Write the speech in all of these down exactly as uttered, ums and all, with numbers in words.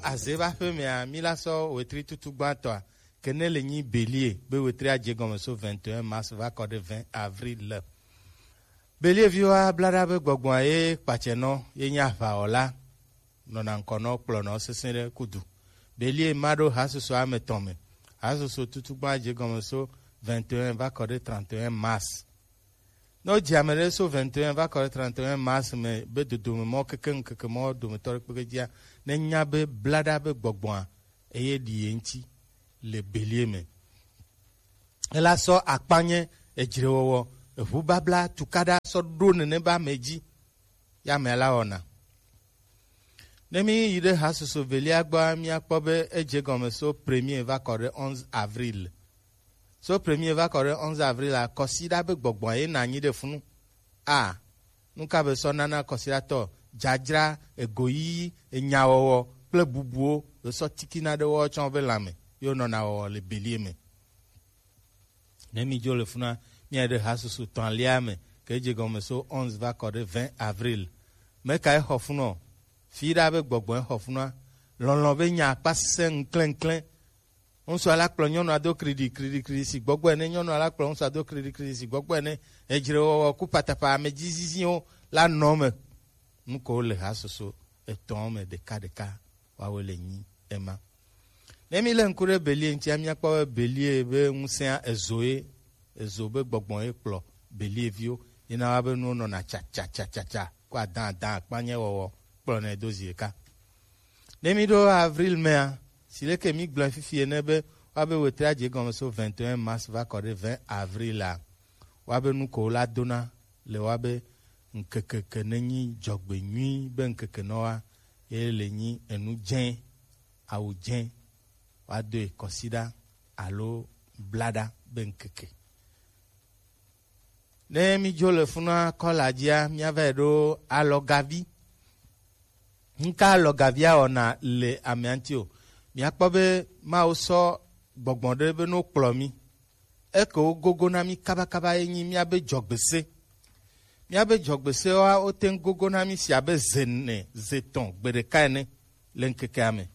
Azeba ƒe mea, mi la sɔ wetri tutu gbãtɔa, ke ne le nyi Bélier be wetri adze gɔme so vingt et un mars va kɔ ɖe vingt avril. Bélier viwoa bla ɖa be gbɔgbɔa ye kpatsɛ nɔ ye nye aʋawɔla nɔna ŋkɔ nɔ kplɔ nɔ sesẽ ɖe kudu. Bélier ma ɖo hasusu ame tɔn me. Hasusu tutu gbã dze gɔme so vingt et un va kɔ ɖe trente et un mars. Ne wodzi ame ɖe so vingt et un va kɔ ɖe trente et un mars me be dodome mɔ keke ŋkeke mɔ dometɔ ɖe kpekpe dzia, ne nya be bla ɖa be gbɔgbɔa eye ɖi ye ŋuti le Bélier me. Ela sɔ akpanye, edzrewɔwɔ, eʋubabla, tukaɖa sɔ ɖo nene be ame dzi. Ya amea la wɔna. Ne mi yi ɖe hasusu velia gbɔa, miakpɔ be edze gɔme so premier va kɔ ɖe onze avril. So premier va kɔ ɖe onze avril a, kɔsiɖa be gbɔgbɔ ye na anyi ɖe funu. A, nu ka be sɔ nana kɔsiɖatɔ? Dzadzra, egoyiyi, enyawɔwɔ kple bubuwo be sɔ tikina ɖe woawo tsã be lãme ye wonɔna wɔwɔ le Bélier me. Ne mi dzo le funa, mia ɖe hasusu tɔ̃lia me, ke dze gɔme so onze va kɔ ɖe vingt avril. Me ka exɔ funɔ? Fi ɖa be gbɔgbɔ exɔ funua. Lɔlɔ̃ be nya akpa sesẽ ŋklɛŋklɛ. Ŋutsu ala kplɔ nyɔnua do kriɖi, kriɖi, kriɖi si gbɔgbɔ ene. Nyɔnua la kplɔ ŋutsua do kriɖi, kriɖi si gbɔgbɔ ene. Edzrewɔwɔ ku patapa, ame dzi ziziwo la nɔ me. Nu ko le hasusu etɔ̃ me ɖekaɖeka woawoe le nyi ema. Ne mi le ŋku ɖe Bélier ŋutia, miakpɔ be Bélier be ŋusẽa ezo ye, ezo be gbɔgbɔ ye kplɔ Bélier viwo. Yena wa be nuwo nɔna tsa, tsa, tsa, tsa, tsa, ko adã, adã, akpanye wɔwɔ kplɔnɛ do zi ɖeka. Ne mi ɖo avril mea, si leke mi gblɔe fifi ene be woabe wetri adze gɔme so vingt et un mars va kɔ ɖe vingt avril a, woabe nu ko la dona le woabe ŋkeke ke ne nyi dzɔgbenyui be ŋkeke nɔ wa, ye le nyi enu dzẽ, awu dzẽ, woadoe kɔsiɖa alo blaɖa be ŋkeke. Ne mi dzo le funua kɔla dzia, miava yi ɖo alɔgavi. Ŋka alɔgavia wɔna le amea ŋuti o? Miakpɔ be Mawu sɔ gbɔgbɔ ɖe be no kplɔ mi. Eke wo gogo na mi kabakaba ye nyi miabe dzɔgbese. Miabe dzɔgbesewoa, wote ŋu gogo na mi si abe ze ene, ze etɔ̃, gbe ɖeka ene le ŋkekea me.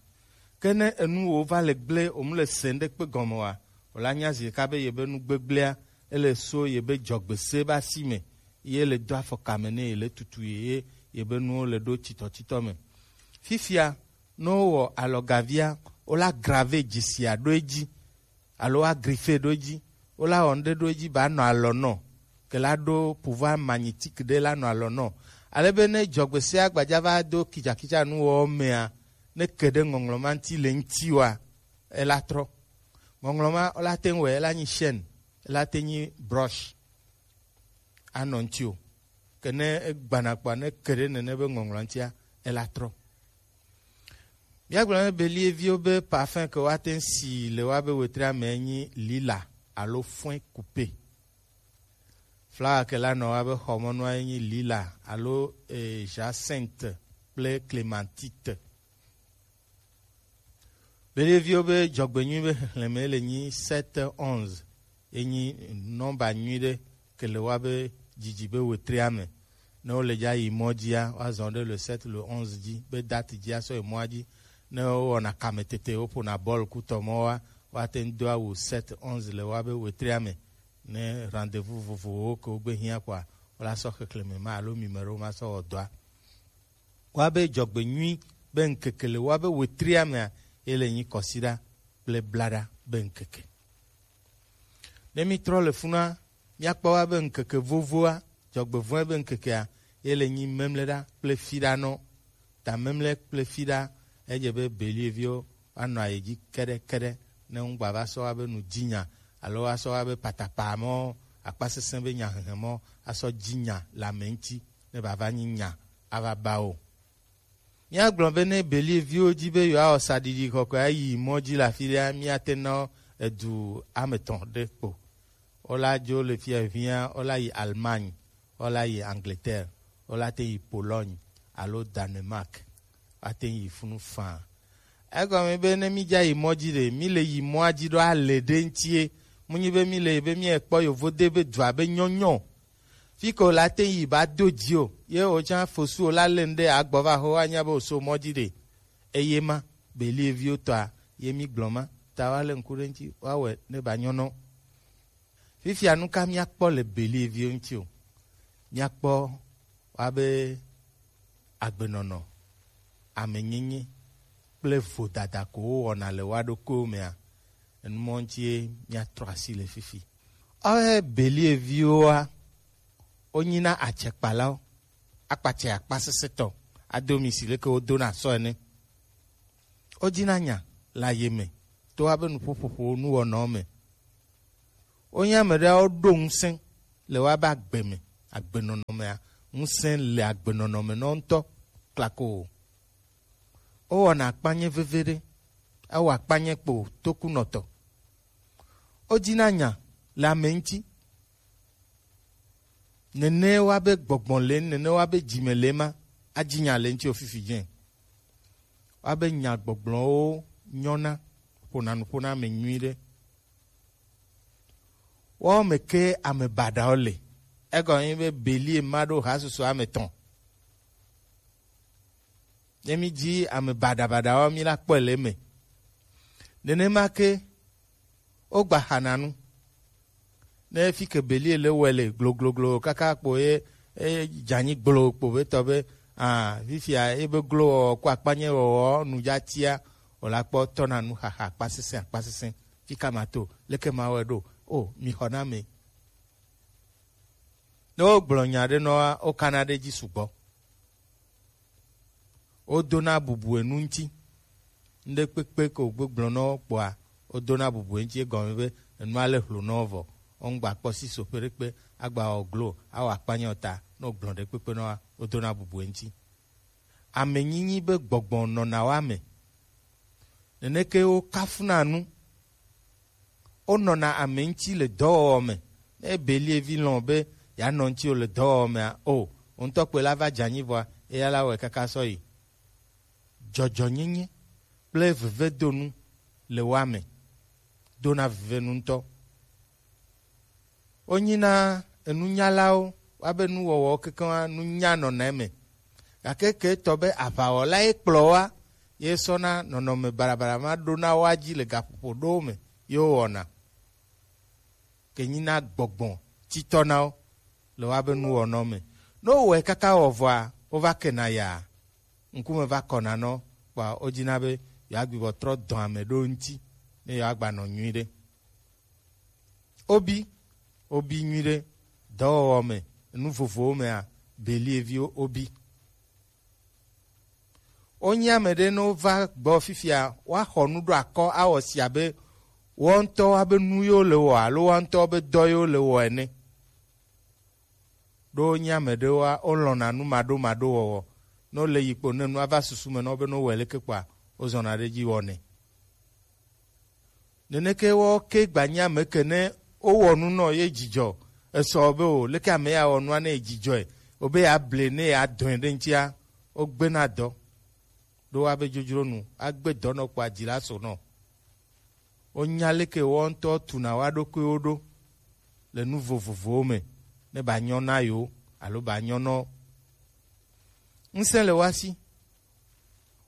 Ke ne enuwo va le gblẽ, wòmu le se ŋɖekpe gɔme oa, wòla nya zi ɖeka be yebe nu gbegblẽa, ele so yebe dzɔgbese be asi me, ye le do afɔka me nɛ, ye le tutu ye, ye yebe nuwo le ɖo titɔtitɔ me. Fifia, ne wowɔ alɔgavia, wola grave dzisia ɖo edzi, alo woa griffe ɖo edzi, wola wɔ ŋɖe ɖo edzi ba nɔ alɔ nɔ, ke la ɖo pouvoir magnétique ɖe la nɔ alɔ nɔ. Ale be ne dzɔgbesea gbadza va do kitsakitsa nuwɔwɔ mea, ne ke ɖe ŋɔŋlɔ ma ŋuti le ŋuti wa, ela trɔ. Ŋɔŋlɔ ma wola te ŋu wɛ, ela nyi chaîne, ela te nyi broche, anɔ ŋuti o. Ke ne egbana kpɔa, ne ke ɖe nene be ŋɔŋlɔ ŋutia, ela trɔ. Míagblɔ na Beliviwo be parfum ke woate ŋu si le woabe wetria me nyi lila alo foin coupé. Flawa ke la nɔ woabe xɔmɔnua nyi lila alo eh, jacinthe kple clémentite. Beliviwo be dzɔgbenyui be xexlẽme le nyi sept onze. Ye nyi nɔmba nyui ɖe ke le woabe dzidzi be wetria me. Ne wole dza yi mɔ dzia, woazɔ ɖe le sept le onze dzi be date dzi asɔ yi mɔa dzi. Ne wowɔna kametete, woƒona bɔl ku tɔmɔwoa, woate ŋu do awu sept onze le woabe wetria me. Ne rendez-vous vovovowo ke wogbe hiã kɔa, wola sɔ xexlẽme ma alo mime ɖewo ma sɔ wɔ dɔa. Woabe dzɔgbenyui be ŋkeke le woabe wetria mea, ye le nyi kɔsiɖa kple blaɖa be ŋkeke. Ne mítrɔ le funua, míakpɔ woabe ŋkeke vovoa, dzɔgbevɔ̃e be ŋkekea, ye le nyi memleɖa kple fiɖanɔ. Ta memle kple fiɖa, edze be Believiwo woanɔ ayi dzi keɖekeɖe ne ŋugba va sɔ woabe nudzinya alo woasɔ woabe patapaa mɔ, akpasesẽ be nyahehe mɔ asɔ dzi nya le ame ŋuti ne bava nyi nya ava ba wo. Míagblɔ be ne Beliviwo di be yewoawɔ saɖiɖi kɔkɔe ayi mɔ dzi le afi ɖea, míate na edu ame etɔ̃ ɖe kpo. Wola dzo le fiahiã, wola yi Allemagne, wola yi Angleterre, wola te yi Pologne alo Danemark. Woate yi funu faa. Egɔme be ne mídza yi mɔ dzi ɖe, míle yi mɔa dzi ɖo ale ɖe ŋutie. Munyi be míle be míekpɔ yovode be dua be nyɔnyɔ. Fi ke wòla te yi ba do dzi o, ye wòtsã fosu wòla lé nu ɖe agbɔ va xo anya be wòso mɔ dzi ɖe. Eye ma, Believio tɔa ye mi gblɔ ma, ta wa le ŋku ɖe ŋuti, wa wɛ ne ba nyɔ nɔ. Fifia nu ka mía kpɔ le Believio ŋuti o? Mía kpɔ wa be agbenɔnɔ, amenyenye kple vodada ko wowɔna le wa ɖokuiwo mea, enu mɔ ŋuti ye mía trɔ asi le fifi. Ɔhɛ Believioa, wonyina atsɛkpalawo, akpatsɛ akpasesẽtɔ, ado mi si leke wodona sɔ ene. Wodina nya le aye me to wa be nuƒoƒoƒo nuwɔnawo me. Wonye ame ɖewo ɖo ŋusẽ le wa be agbe me, agbenɔnɔ mea, ŋusẽ le agbenɔnɔ me nɔ ŋutɔ klako o. Wowɔna akpanye veve ɖe, ewɔ akpanye kpo tokunɔtɔ. Wodina nya le ame ŋuti. Nene wa be gbɔgbɔ le, nene wa be dzime le ma, adzi nya le ŋuti o fifi dzɛ. Wa be nya gbɔgblɔwo nyɔna, ƒona nu ƒona ame nyui ɖe. Woawo me ke ame baɖawo le. Egɔme nyi be Belie ma ɖo ha susu ame tɔn. Ne mi dzi ame baɖabaɖawo, mi la kpɔe le eme. Nenema ke wogba xana nu. Ne fi ke Belie le wɔe le glogloglo kaka kpo ye, ye dzanyi gblo kpo be tɔ be, ah, fifia ye be glo wɔwɔ ko akpanye wɔwɔ nu dza tia, o la kpɔ tɔna nu xaxa akpasesẽ akpasesẽ. Fika ma to, leke ma wɔe ɖo? O, mi xɔ na me. Ne wogblɔ nya ɖe nɔa, wokana ɖe edzi sugbɔ. Wodona bubu enu ŋuti. Ŋɖe kpekpe ko gbegblɔ nɔ kpɔa, wodona bubu ŋuti egɔme be enua le hlo nɔ vɔ. Wongba kpɔ si so ƒe ɖekpe, agba wɔ glo, awɔ akpanya o ta, ne wogblɔ ɖe kpekpe nɔa, wodona bubu ŋuti. Ame nyinyi be gbɔgbɔ nɔna wa me. Neneke wo kafuna nu. Wonɔna ame ŋuti le dɔwɔwɔ me. Ne Belie vi lɔ̃ be yeanɔ ŋuti o le dɔwɔwɔ mea, o, wo ŋutɔ kpoe la va dze anyi vɔa, eya la wɔe kaka sɔ yi. Dzɔdzɔnyenye kple vevedonu le woa me, dona vevenu ŋutɔ. Wonyina enunyalawo, woabe nuwɔwɔwo kekeŋ nunya nɔna eme. Gake ke etɔ be aʋawɔla ye kplɔ woa, ye sɔna nɔnɔme baɖabaɖa ma ɖona woa dzi le gaƒoƒo ɖowo me ye wowɔna. Ke nyina gbɔgbɔ titɔ na wo le woabe nuwɔnawo me. Ne wowɔe kaka wɔ vɔa, wova kena yaa. Ŋkume va kɔna nɔ, kpɔa wodina be yewoagbi bɔ trɔ dɔ ame ɖo ŋuti ne yewoagbanɔ nyuiɖe. Wobi, wobi nyuiɖe, dɔwɔwɔ me, nu vovowo mea, Belie viwo wobi. Wonye ame ɖe ne wova gbɔ fifia, woaxɔ nu ɖo akɔ awɔ si abe woawo ŋutɔwo be nu yewo le wɔ alo woawo ŋutɔwo be dɔ yewo le wɔ ene. Ɖo wonye ame ɖewoa, wolɔ̃na nu maɖomaɖo wɔwɔ. Ne wole yi kpo ne nua va susu me na wo be ne wowɔe leke kpɔa, wozɔna ɖe edzi wɔnɛ. Neneke woawo ke gbanye ame ke ne wowɔ nu nɔ ye dzidzɔ esɔ be o, leke ame ya wɔ nua ne ye dzidzɔe, o be yeable ne yeadɔe ɖe ŋutia, wogbena dɔ. Ɖo woabe dzodzro nu, agbe dɔ nɔ kpɔa dzi la so nɔ. Wonya leke woawo ŋutɔ tuna woa ɖokuiwo ɖo le nu vovovowo me, ne ba nyɔ na yewo alo ba nyɔ nɔ wo. Ŋusẽ le woa si.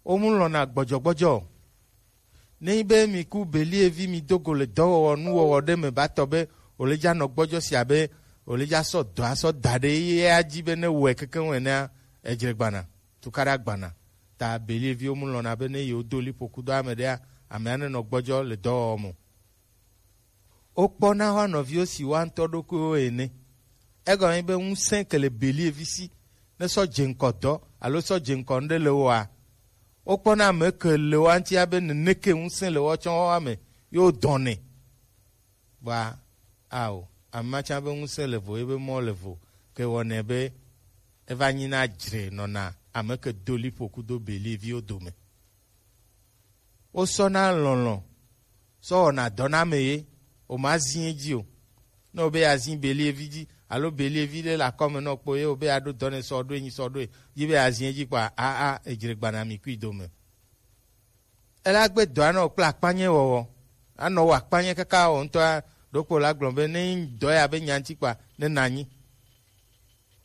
Womu lɔ̃na gbɔdzɔgbɔdzɔ o. Nenyi be mi ku Belie vi mi do go le dɔwɔwɔ nuwɔwɔ ɖe me ba tɔ be wòle dza nɔ gbɔdzɔ si abe wòle dza sɔ dɔ asɔ da ɖe ye ya dzi be ne wɔe kekeŋ enea, edzre gbana, tukaɖa gbana. Ta Belie viwo mu lɔ̃na be ne yewo do liƒo kudo ame ɖea, amea nenɔ gbɔdzɔ le dɔwɔwɔ me o. Wokpɔna woa nɔviwo si woa ŋutɔ ɖokuiwo ene. Egɔme be ŋusẽ ke le Belie vi si ne sɔ dze ŋkɔ dɔ alo sɔ dze ŋkɔ ŋɖe le woa. Wokpɔna ame ke le woa ŋuti abe neneke ŋusẽ le woatsɔ woa me ye wodɔnɛ. Vɔa, ao, ame ma tsã be ŋusẽ le vo, ebe mɔ le vo, ke wɔnɛ be eva nyina dzre nɔna ame ke do liƒo kudo Belie viwo dome. Wosɔna lɔlɔ̃ sɔ wɔna dɔ na ame ye, wòmazi edzi o. Ne wòbe yeazi Belie vi dzi, alo Belie vi ɖe le akɔme nɔ kpo ye wòbe yeaɖo dɔ nɛ sɔ ɖo enyi sɔ ɖo e, yi be yeazi edzi kpɔa, aa, edzre gbana mi kui dome. Ela gbe dɔ anɔ kple akpanye wɔwɔ. Anɔ wɔ akpanye kaka wɔ ŋutɔa, ɖokpo la gblɔ be ne dɔ ya be nya ŋuti kpɔa, ne nanyi.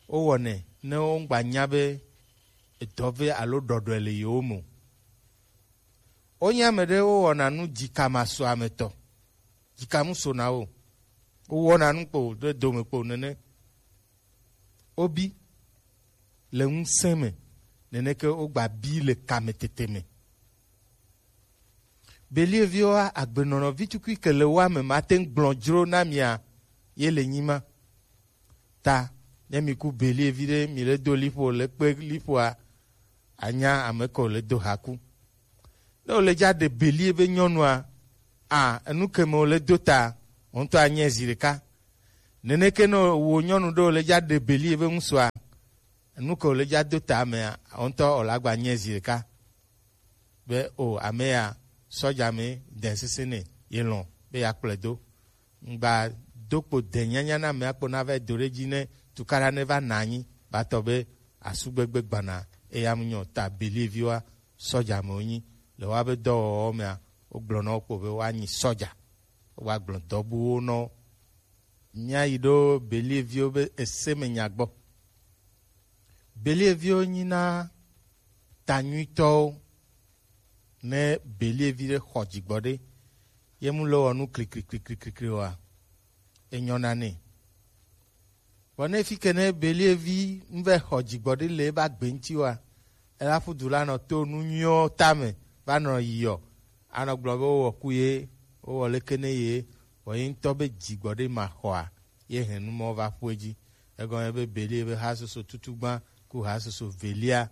Wowɔnɛ ne wogba nya be edɔ ve alo ɖɔɖɔe le yewo me o. Wonye ame ɖe wowɔna nu dzikamasoametɔ. Dzikamu sona wo. Wowɔna nu kpo ɖe dome kpo nene. Wobi le ŋusẽ me, neneke wogba bi le kametete me. Believioa, agbenɔnɔ vitukui ke le woa me mate ŋu gblɔ dzro na mia ye le nyi ma. Ta ne mi ku belie vi ɖe, mi le do liƒo le kpe liƒoa, anya ame ke wòle do haku. Ne wòle dza ɖe belie be nyɔnua, a enu ke me wòle do ta, wò ŋutɔ anyae zi ɖeka. Neneke ne wò nyɔnu ɖe wòle dza ɖe belie be ŋutsua, enu ke wòle dza do ta mea, wò ŋutɔ wòle agba nyae zi ɖeka. Be o ame ya, sɔdza me den sese ne ye lɔn be ya kplɔe do. Ŋgba do kpo de nyanya na ame akpo na va do ɖe dzi ne tukaɖa ne va na anyi ba tɔ be asu gbegbe gbana eya mu nyɔ ta belie viwa sɔdza me wonyi le wa be dɔwɔwɔ mea wogblɔ na wo kpo be woanyi sɔdza. Wogba gblɔ dɔ buwo na wo. Míayi ɖo belie viwo be ese me nya gbɔ. Belie viwo nyina ta nyuitɔwo. Ne belie vi ɖe xɔ dzigbɔ ɖe, ye mu le wɔ nu klikliklikliklikli oa, enyɔna nɛ. Vɔ ne fi ke ne belie vi nu vɛ xɔ dzigbɔ ɖe le eba gbe ŋuti oa, ela ƒu du la nɔ to nu nyuiwo tame va nɔ yiyɔ, anɔ gblɔ be wowɔ ku ye, wowɔ leke ne ye, vɔ ye ŋutɔ be dzigbɔ ɖe ma xɔa, ye hɛn nu mɔ va ƒu edzi. Egɔme be belie be hasoso tutugba ku hasoso velia,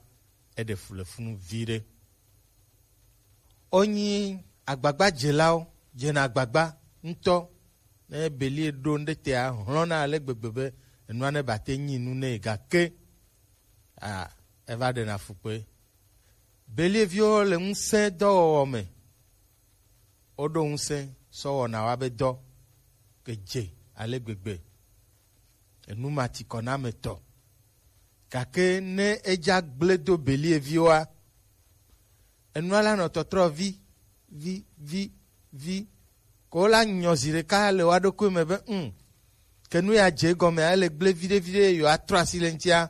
eɖe fu le funu vi ɖe. Wonyi agbagbadzelawo, dzena agbagba ŋutɔ. Ne belie ɖo ŋɖe tea, hlɔ̃na ale gbegbe be enua ne bate nyi nu nɛ gake a eva ɖena fukpe. Belie viwo le ŋusẽ dɔwɔwɔ me. Woɖo ŋusẽ sɔ wɔna wa be dɔ ke dze ale gbegbe. Enu ma ti kɔ na ame tɔ. Gake ne edza gble do belie viwoa, enua la nɔ tɔtrɔ vi vi vi vi ko la nyɔ zi ɖeka le wa ɖokui me be ŋ ke nu ya dze egɔme ele gble viɖe viɖe yewo atrɔ asi le ŋutia.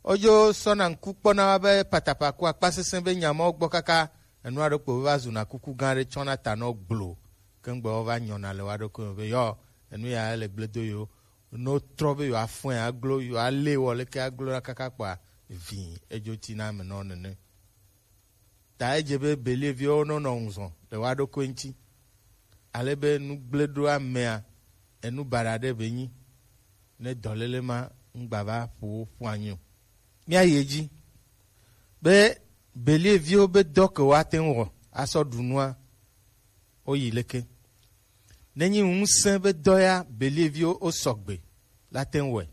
Wodzo sɔna ŋku kpɔna wa be patapa ku akpa sesẽ be nya mawo gbɔ kaka enua ɖo kpo va zuna kuku gã ɖe tsɔna ta nɔ gblo. Ke ŋgbe wo va nyɔna le wa ɖokui me be yɔ enu ya ele gble do yewo. Ne wotrɔ be yewoafɔe aglo, yewoalé wɔ leke aglo la kaka kpɔa, vĩ edzo tina ame nɔ nene. Ta edze be belie viwo nɔ nɔ ŋuzɔ le wa ɖokui ŋuti. Ale be nu gble ɖo amea, enu baɖa ɖe be nyi. Ne dɔléle ma ŋgba va ƒo wo ƒu anyi o. Míayi edzi be belie viwo be dɔ ke woate ŋu wɔ asɔ ɖu nua, woyi leke? Nenyi ŋusẽ be dɔ ya belie viwo wosɔgbe la te ŋu wɔe.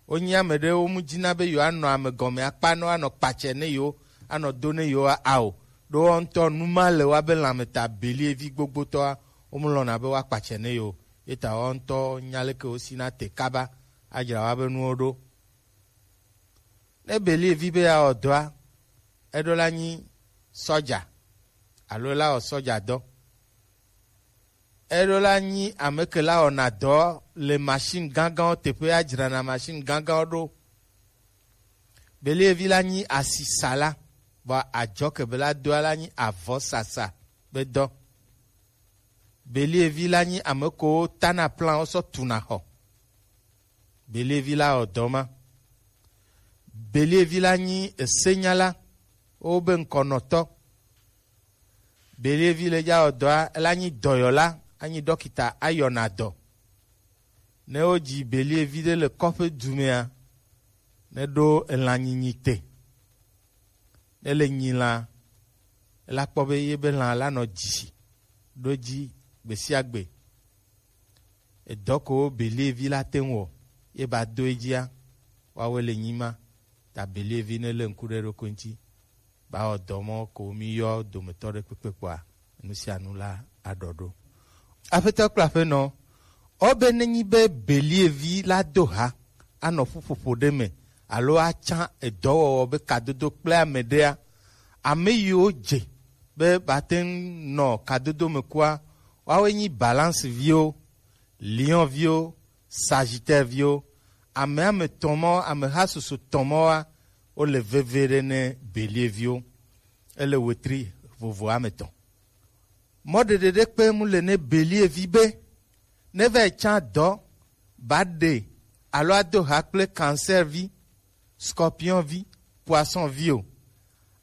Wonyi ame ɖe wo mu dzina be yewoanɔ ame gɔme akpa ne woanɔ kpatsɛ ne yewo, anɔ do ne yewo a o. Ɖo woawo ŋutɔ nu ma le woa be lãmeta belie vi gbogbotɔa, wo mu lɔ̃na be woakpatsɛ ne yewo. Ye ta woawo ŋutɔ nya leke wosina te kaba adzra woa be nuwo ɖo. Ne belie vi be yeawɔ dɔa, eɖo la nyi sɔdza alo la wɔ sɔdza dɔ. Eɖo la nyi ame ke la wɔna dɔ le machine gãgãwo teƒe adzrana machine gãgãwo ɖo. Belie vi la nyi asisala, vɔ adzɔ ke be la doa la nyi avɔsasa be dɔ. Belie vi la nyi ame kewo tana plan wosɔ tuna xɔ. Belie vi la wɔ dɔ ma. Belie vi la nyi esenyala, wobe ŋkɔnɔtɔ. Belie vi le dza wɔ dɔa, ela nyi dɔyɔla, anyi ɖɔkita, ayɔna dɔ. Ne wodzi belie vi ɖe le kɔƒe dumea, ne ɖo elã nyinyi te. Ne le nyi lã, ela kpɔ be ye be lã la nɔ dzi ɖo dzi gbe sia gbe. Edɔ ko belie vi la te ŋu wɔ, ye ba do edzia, woawoe le nyi ma. Ta belie vi ne le ŋku ɖe eɖokui ŋuti, ba wɔ dɔ mɔ ko mi yɔ dometɔ ɖe kpekpe kpɔa, nu sia nu la aɖɔ ɖo. Aƒetɔ kple aƒenɔ, ɔbe nenyi be belie vi la do ha anɔ ƒuƒoƒo ɖe me alo atsã edɔwɔwɔ be kadodo kple ame ɖea, ame yiwo dze be bate ŋu nɔ kadodo me kua, woawoe nyi balance viwo, lion viwo, sagittaire viwo. Ame ame tɔn mɔ, ame ha susu tɔn mɔ wa, wo le veve ɖe ne belie viwo. Ele wetri vovo ame tɔn. Mɔ ɖeɖe ɖe kpe mu le ne Bélier vi be ne va yi can dɔ ba ɖe alo ado ha kple cancer vi, scorpion vi, poisson vi o.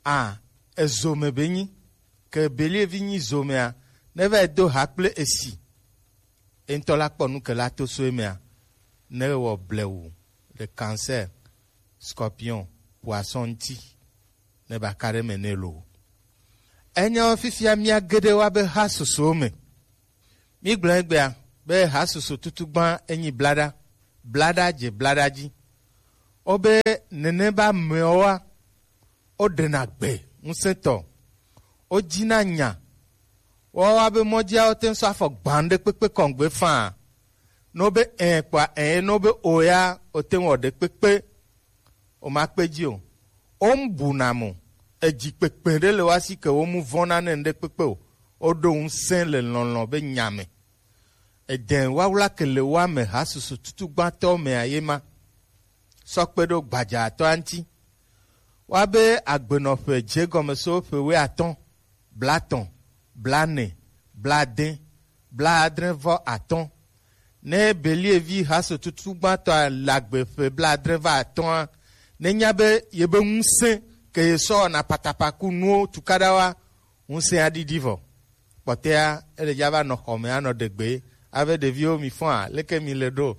A, ezo me be nyi ke Bélier vi nyi zo mea, ne va yi do ha kple esi. Eŋutɔ la kpɔ nu ke la to so emea, ne wɔ blewu le cancer, scorpion, poisson ŋuti, ne ba ka ɖe me ne lo. Enyawo fifia mía geɖe wa be ha susuwo me. Mí gblɔ egbea be ha susu tutu gbã enyi blaɖa, blaɖa dze blaɖa dzi. Wobe nene be amewoa, woɖena gbe ŋusẽtɔ, wodzina nya, woawoa be mɔdzia wote ŋu sɔ afɔ gbã ɖe kpekpe kɔŋgbe faa. Ne wobe ẽ kpɔa ẽ, ne wobe o ya, wote ŋu wɔ ɖe kpekpe. Womakpe dzi o. Womu buna mo. Edzi kpekpe ɖe le woa si ke womu vɔ̃na ne ŋɖe kpekpe o. Woɖo ŋusẽ le lɔlɔ̃ be nya me. Edɛn wawla ke le woa me ha susu tutu gbãtɔ mea ye ma. Sɔ kpe ɖo gbadzatɔa ŋuti. Woabe agbenɔƒe dze gɔme so ƒe wuiatɔ̃, blatɔ̃, blane, blade, blaadre vɔ atɔ̃. Ne Bélier vi ha so tutu gbãtɔa le agbe ƒe blaadre vɔ atɔ̃a, nenya be yebe ŋusẽ ke ye sɔ wɔna patapa ku nuwo tukaɖawoa, ŋusẽa ɖiɖi vɔ. Kpɔtɔea, ele dza va nɔ xɔ me anɔ ɖe gbe. Ave ɖeviwo mi fɔa, leke mi le ɖo?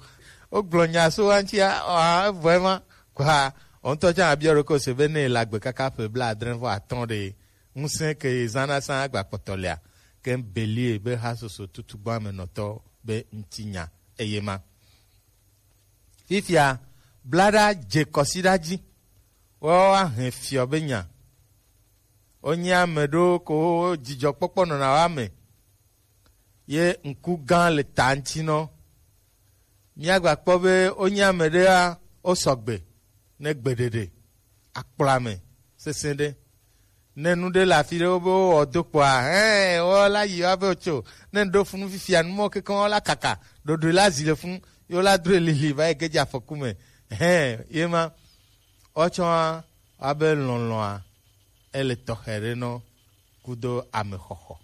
Wogblɔ nya so wa ŋutia, ɔa, evɔe ma. Kɔa, wo ŋutɔ tsã abiɔ ɖokɔ se be ne le agbe kaka ƒe blaadre vɔ atɔ̃ ɖe, ŋusẽ ke ye zãna sã agba kpɔtɔ lea, ke Bélier be ha soso tutugbã me nɔtɔ be ŋutinya eye ma. Fifia, blaɖa dze kɔsiɖa dzi, woawo ahɛn fiɔ be nya. Wonye ame ɖewo ko dzidzɔkpɔkpɔ nɔna wa me, ye ŋku gã le ta ŋuti nɔ. Míagba kpɔ be wonye ame ɖea, wosɔgbe ne gbeɖeɖe, akplɔ ame sesẽ ɖe. Ne nu ɖe le afi ɖe, wobe wowɔ do kpɔa, hɛn, wola yi woa be wotso. Ne ŋɖo funu fifia, nu mɔ kekeŋ wola kaka, ɖoɖoe la zi le funu, ye wola droe lili va yi ge dze afɔku me. Hɛn, ye ma. Woatsɔa, woabe lɔlɔ̃a, ele tɔxɛ ɖe nɔ kudo amexɔxɔ.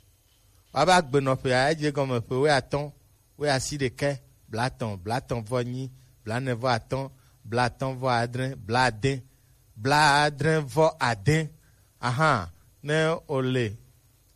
Woabe agbenɔƒea, edze gɔme ƒe wuiatɔ̃, wuiasiɖekɛ, blatɔ̃, blatɔ̃ vɔ enyi, blanɛ vɔ atɔ̃, blatɔ̃ vɔ adre, blade, blaadre vɔ ade. Ahan, ne wòle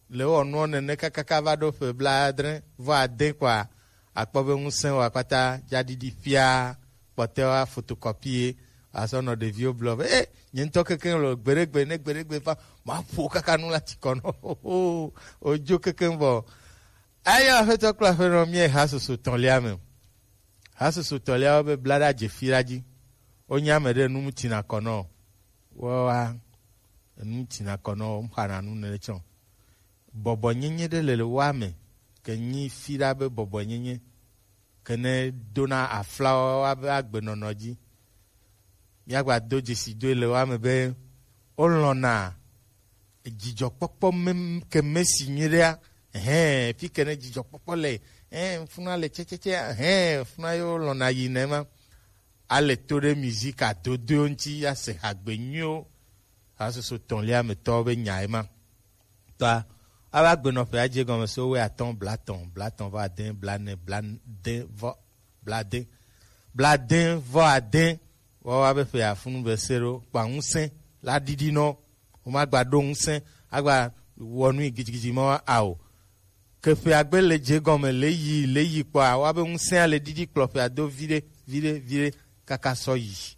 le wɔ nuɔ nene kakaka va ɖo ƒe blaadre vɔ ade kɔa, akpɔ be ŋusẽ wɔ akpata dza ɖiɖi ƒia, kpɔtɔewa photocopie, asɔ nɔ ɖeviwo blɔ be, e, nye ŋutɔ kekeŋ le gbeɖegbe, ne gbeɖegbe va, maƒo kaka nu la tsi kɔ nɔ. Wodzo kekeŋ vɔ. Eya Aƒetɔ kple Aƒenɔ, míayi hasusu tɔ̃lia me. Hasusu tɔ̃liawo be blaɖa dze fi ɖa dzi. Wonye ame ɖe nu mu tsina kɔ nɔ. Woa, enu tsina kɔ nɔ, wo xana nu ne tsɔ. Bɔbɔnyenye ɖe le woa me, ke nyi fi ɖa be bɔbɔnyenye, ke ne dona aflawo abe agbenɔnɔ dzi. Míagba do dzesi doe le woame be wolɔ̃na dzidzɔkpɔkpɔ me, ke mesi nyuiɖea, hɛn, fi ke ne dzidzɔkpɔkpɔ le, hɛn, funa le tsɛtsɛtsɛ, hɛn, funa yo lɔ̃na yi ne ma. Ale to ɖe musique adodoewo ŋuti, ase hagbe nyuiwo, hasoso tɔ̃lia me tɔwo be nya ema. Tɔa, ava gbenɔƒe adze gɔme so wuiatɔ̃, blatɔ̃, blatɔ̃ vɔ ade, blane, blade vɔ, blade, blade vɔ ade, woawo abe ƒe afunu be se ɖo, kpa ŋusẽ la ɖiɖi nɔ, womagba ɖo ŋusẽ, agba wɔ nui gidigidi mɔ ao. Ke ƒea gbe le dze gɔme, le yi, le yi kpɔa, woabe ŋusẽa le ɖiɖi kplɔ ƒea do viɖe, viɖe, viɖe, kaka sɔ yi.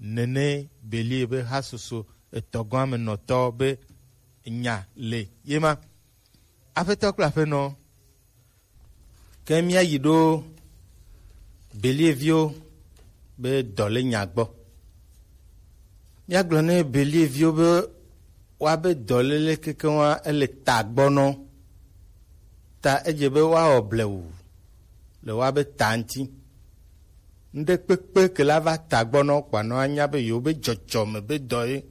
Nene Belie be hasoso etɔ̃ gɔ̃ amenɔtɔ be nya le ye ma. Aƒetɔ kple aƒenɔ, ke míayi ɖo Belie viwo be dɔ le nya gbɔ. Míagblɔ ne Belie viwo be woabe dɔ lele kekeŋ wa ele ta gbɔ nɔ. Ta edze be woawɔ blewu le woabe ta ŋuti. Ŋɖe kpekpe ke la va ta gbɔ nɔ kpa nɔ anya be yewo be dzɔdzɔme be dɔ ye.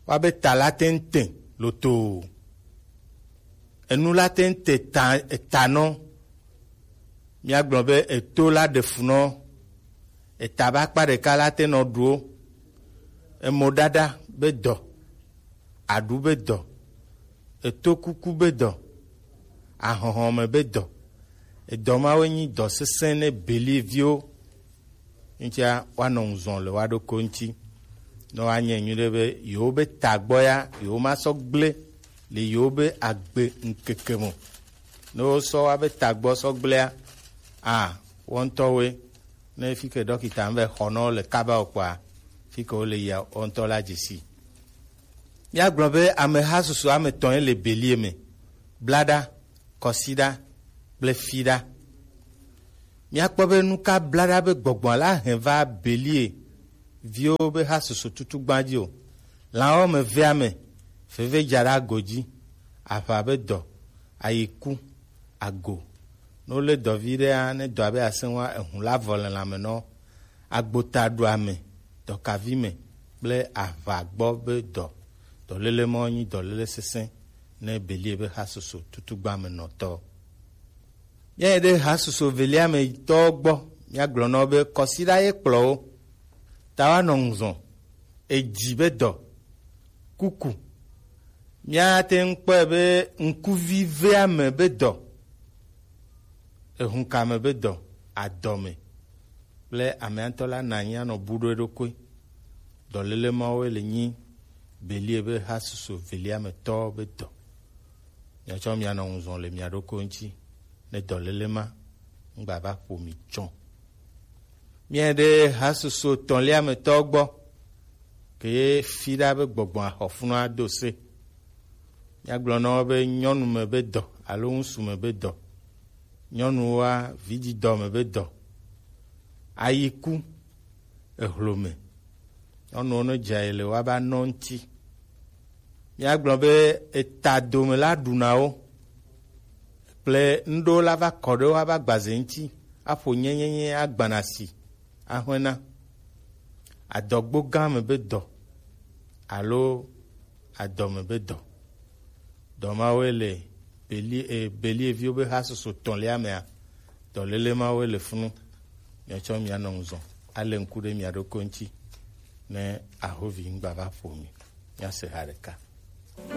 Woabe ta la te ŋu te lotoo. Enu la te ŋu te ta, eta nɔ. Míagblɔ be eto la ɖe fu nɔ. Eta be akpa ɖeka la te nɔ ɖuwo. Emo ɖaɖa be dɔ. Aɖu be dɔ. Eto kuku be dɔ. ahɔhɔ me be dɔ. Edɔ mawoe nyi dɔ sesẽ ne Belie viwo. Ŋutia woanɔ ŋu zɔn le woa ɖokui ŋuti. Ne woanye nyuiɖe be yewo be tagbɔ ya, yewo ma sɔ gblẽ le yewo be agbe ŋkeke me o. Ne wosɔ woa be tagbɔ sɔ gblẽa, a, wo ŋutɔwoe. Ne fi ke ɖɔkita ŋu be xɔnɔ le kaba o kpɔa, fi ke wole yia wo ŋutɔ la dze si. Míagblɔ be ameha susu ame etɔ̃ ye le Belie me: blaɖa, kɔsiɖa kple fiɖa. Míakpɔ be nu ka blaɖa be gbɔgbɔ la hɛn va Belie viwo be ha susu tutugba dzi o. Lãwo me vea me, veve dza ɖe ago dzi, aʋa be dɔ, ayiku, ago. Ne wolé dɔvi ɖea, ne dɔa be asẽ ŋua, ehu la vɔ le lãme nɔ. Agbota ɖu ame, dɔkavi me kple aʋa gbɔ be dɔ. Dɔléle mawo nyi dɔléle sesẽ ne Belie be ha susu tutugba me nɔtɔ. Míayi ɖe ha susu velia me tɔwo gbɔ, míagblɔ na wo be kɔsiɖa ye kplɔ wo. Ta woanɔ ŋu zɔn, edzi be dɔ, kuku. Míate ŋu kpɔe be ŋkuvi vea me be dɔ, ehunkame be dɔ, adɔme kple amea ŋutɔ la nanyi anɔ bu ɖo eɖokui. Dɔléle mawoe le nyi Belie be ha susu velia me tɔwo be dɔ. Miatsɔ mianɔ ŋu zɔn le mia ɖokui ŋuti, ne dɔléle ma ŋgba va ƒo mi tsɔ. Míaɖe ha susu etɔ̃lia me tɔwo gbɔ, ke ye fiɖa be gbɔgbɔ axɔfunua do se. Míagblɔ na wo be nyɔnu me be dɔ alo ŋutsu me be dɔ. Nyɔnuwoa, vidzidɔ me be dɔ. Ayiku, ehlome. Nyɔnuwo ne dze ayi le woa be anɔ ŋuti. Míagblɔ be eta dome la ɖuna wo. Kple nuɖewo la va kɔ ɖe woa be agbaze ŋuti. Aƒo nyenyenye agbana si. Ahwena. Adɔgbo gã me be dɔ alo adɔme be dɔ. Dɔ mawoe le Belie, e, Belie viwo be ha susu etɔ̃lia mea, dɔléle mawoe le funu. Miatsɔ mia nɔ ŋu zɔn, ale ŋku ɖe mia ɖokui ŋuti, ne ahovi ŋgba va ƒo mi. Míase ha ɖeka.